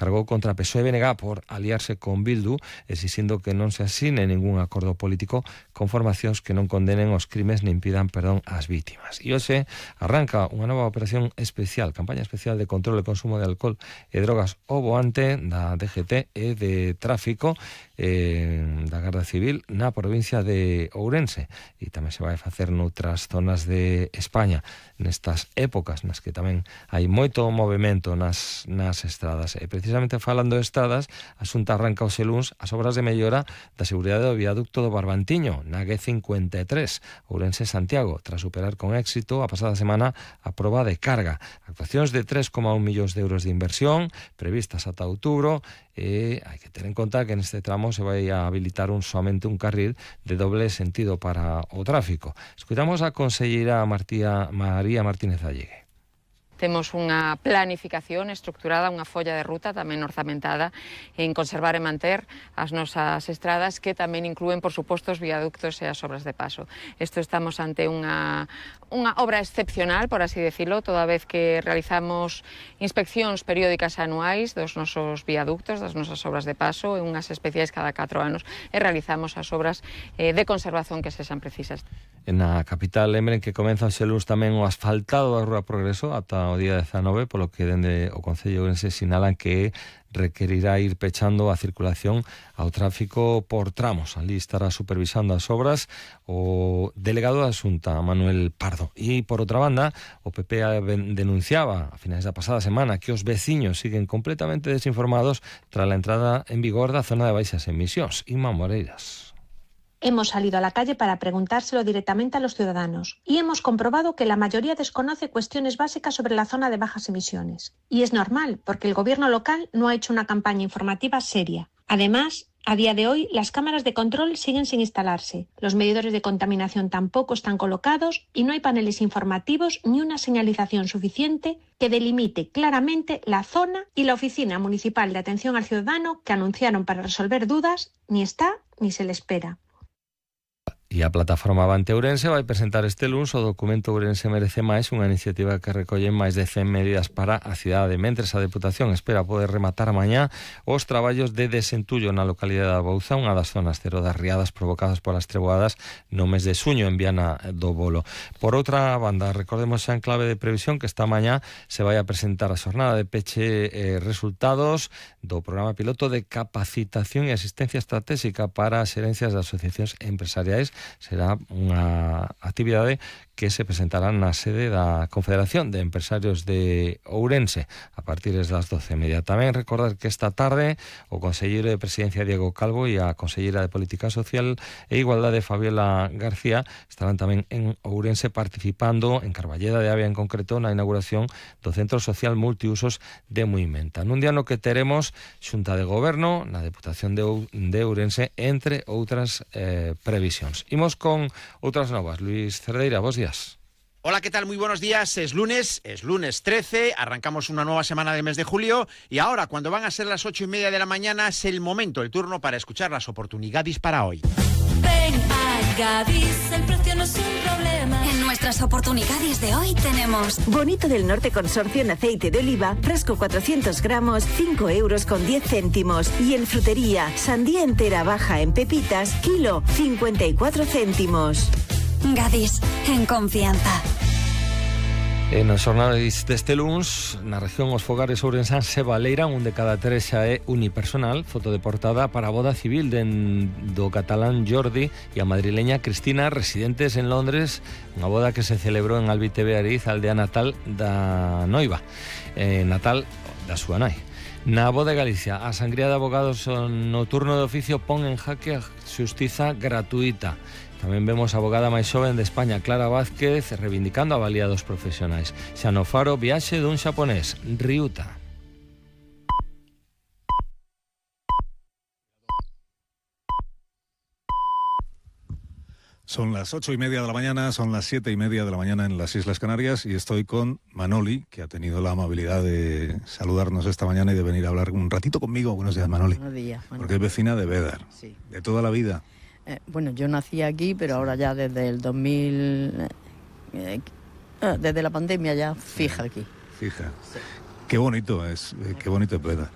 cargou contra PSOE e BNG por aliarse con Bildu, exixindo que non se asine ningún acordo político con formacións que non condenen os crimes nin pidan perdón ás vítimas. E hoxe arranca unha nova operación especial, campaña especial de control e consumo de alcohol e drogas ao voante da DGT e de tráfico da Garda Civil na provincia de Ourense, e tamén se vai facer noutras zonas de España nestas épocas nas que tamén hai moito movimento nas estradas. E precisamente falando de estradas, a Xunta arranca hoxe luns as obras de mellora da seguridade do viaducto do Barbantiño na G53 Ourense-Santiago, tras superar con éxito a pasada semana a proba de carga. Actuacións de 3,1 millóns de euros de inversión previstas ata outubro, e hai que ter en conta que neste tramo se vai a habilitar somente un carril de doble sentido para o tráfico. Escuitamos a conselleira María Martínez Allegue. Temos unha planificación estructurada, unha folla de ruta tamén orzamentada en conservar e manter as nosas estradas, que tamén inclúen, por suposto, os viaductos e as obras de paso. Estamos ante unha obra excepcional, por así decirlo, toda vez que realizamos inspeccións periódicas anuais dos nosos viaductos, das nosas obras de paso, e unhas especiais cada 4 anos, e realizamos as obras de conservación que sexan precisas. Na capital, lembren que comeza hoxe luns tamén o asfaltado da Rúa Progreso ata o día 19, polo que dende o Concello de Ourense sinalan que requerirá ir pechando a circulación ao tráfico por tramos. Ali estará supervisando as obras o delegado da Xunta, Manuel Pardo. E, por outra banda, o PP denunciaba a finais da pasada semana que os veciños siguen completamente desinformados tras a entrada en vigor da zona de baixas emisións. Inma Moreiras. Hemos salido a la calle para preguntárselo directamente a los ciudadanos y hemos comprobado que la mayoría desconoce cuestiones básicas sobre la zona de bajas emisiones. Y es normal, porque el gobierno local no ha hecho una campaña informativa seria. Además, a día de hoy, las cámaras de control siguen sin instalarse, los medidores de contaminación tampoco están colocados y no hay paneles informativos ni una señalización suficiente que delimite claramente la zona, y la Oficina Municipal de Atención al Ciudadano, que anunciaron para resolver dudas, ni está ni se le espera. E a plataforma Avante Ourense vai presentar este luns o documento Ourense Merece Máis, unha iniciativa que recolle máis de 100 medidas para a cidade. Mentres, a Deputación espera poder rematar mañá os traballos de desentullo na localidade da Bouza, unha das zonas cero das riadas provocadas polas treboadas no mes de xuño en Viana do Bolo. Por outra banda, recordemos xa en clave de previsión que esta mañá se vai a presentar a xornada de peche resultados do programa piloto de capacitación e asistencia estratégica para as xerencias de asociacións empresariais. Será unha actividade que se presentará na sede da Confederación de Empresarios de Ourense a partir das 12:30. Tamén recordar que esta tarde o conselleiro de Presidencia Diego Calvo e a conselleira de Política Social e Igualdade Fabiola García estarán tamén en Ourense participando en Carballeda de Avia en concreto na inauguración do Centro Social Multiusos de Muimenta. Nun día no que teremos Xunta de Goberno na Deputación de Ourense, entre outras previsións. Imos con outras novas. Luis Cerdeira, bos días. Hola, ¿qué tal? Muy buenos días. Es lunes 13, arrancamos una nueva semana del mes de julio y ahora, cuando van a ser las 8:30 de la mañana, es el momento, el turno para escuchar las oportunidades para hoy. Ven a Gadis, el precio no es un problema. En nuestras oportunidades de hoy tenemos Bonito del Norte Consorcio en aceite de oliva, frasco 400 gramos, 5 euros con 10 céntimos. Y en frutería, sandía entera baja en pepitas, kilo, 54 céntimos. Gadis, en confianza. Nos xornais deste luns, na región os fogares ourensáns se baleiran, un de cada 3 xa é unipersonal. Foto de portada para a boda civil do catalán Jordi e a madrileña Cristina, residentes en Londres, unha boda que se celebrou en Albite Beariz, aldea natal da noiva, natal da súa nai. Na boda de Galicia, a sangría de abogados no turno de oficio pon en jaque a xustiza gratuita. Tamén vemos a abogada máis xoven de España, Clara Vázquez, reivindicando a valía dos profesionais. Xa no Faro, viaxe dun xaponés, Ryuta. Son las 8:30 de la mañana, son las 7:30 de la mañana en las Islas Canarias y estoy con Manoli, que ha tenido la amabilidad de saludarnos esta mañana y de venir a hablar un ratito conmigo. Buenos días, Manoli. Buenos días. Porque es vecina de Bédar, sí, de toda la vida. Bueno, yo nací aquí, pero ahora ya desde el 2000, desde la pandemia ya fija aquí. Fija. Sí. Qué bonito es Bédar.